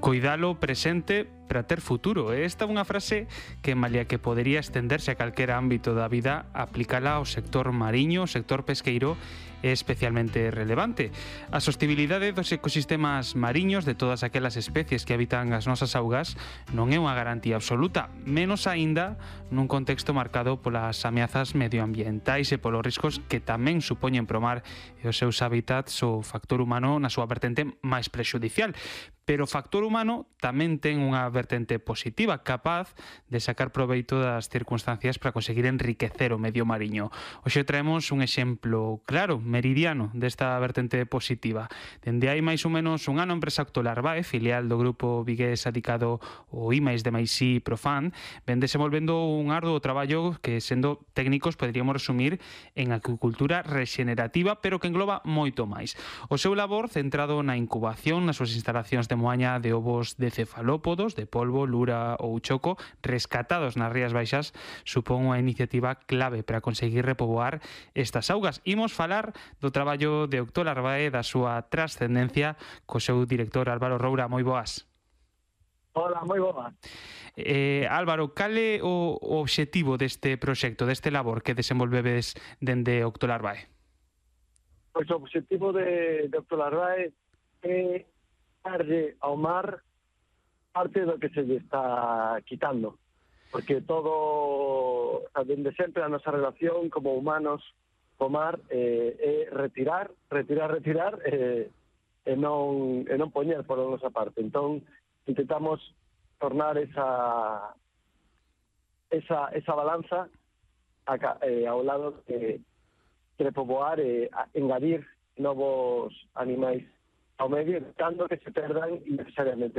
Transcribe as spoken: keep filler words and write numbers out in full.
Coidalo presente para ter futuro. Esta é unha frase que, malia que podería estenderse a calquera ámbito da vida, aplicala ao sector mariño, ao sector pesqueiro, é especialmente relevante. A sostibilidade dos ecosistemas mariños de todas aquelas especies que habitan as nosas augas non é unha garantía absoluta, menos aínda nun contexto marcado polas ameazas medioambientais e polos riscos que tamén supoñen pro mar e os seus hábitats o factor humano na súa vertente máis prexudicial. Pero o factor humano tamén ten unha vertente positiva, capaz de sacar proveito das circunstancias para conseguir enriquecer o medio mariño. Hoxe traemos un exemplo claro, meridiano, desta vertente positiva. Dende hai máis ou menos un ano, a empresa Octolarvae, filial do grupo vigués adicado ao IMAIS de Maisí Profan, ven desenvolvendo un arduo traballo que, sendo técnicos, poderíamos resumir en acuicultura rexenerativa, pero que engloba moito máis. O seu labor centrado na incubación nas súas instalacións de moaña de ovos de cefalópodos, de polvo, lura ou choco, rescatados nas Rías Baixas, supón unha iniciativa clave para conseguir repoboar estas augas. Imos falar do traballo de Octolarvae, da súa trascendencia, co seu director Álvaro Roura. Moi boas. Hola, moi boas. Eh, Álvaro, cal é o obxectivo deste proxecto, deste labor que desenvolvedes dende Octolarvae? Pois o obxectivo de, de Octolarvae é darlle ao mar parte do que se lle está quitando, porque todo, dende sempre a nosa relación como humanos co mar eh, é retirar, retirar, retirar eh, e non, e non poñer por a nosa parte. Entón, intentamos tornar esa esa, esa balanza a, eh, ao lado de, de repoboar e eh, engadir novos animais ao medio, evitando que se perdan innecesariamente.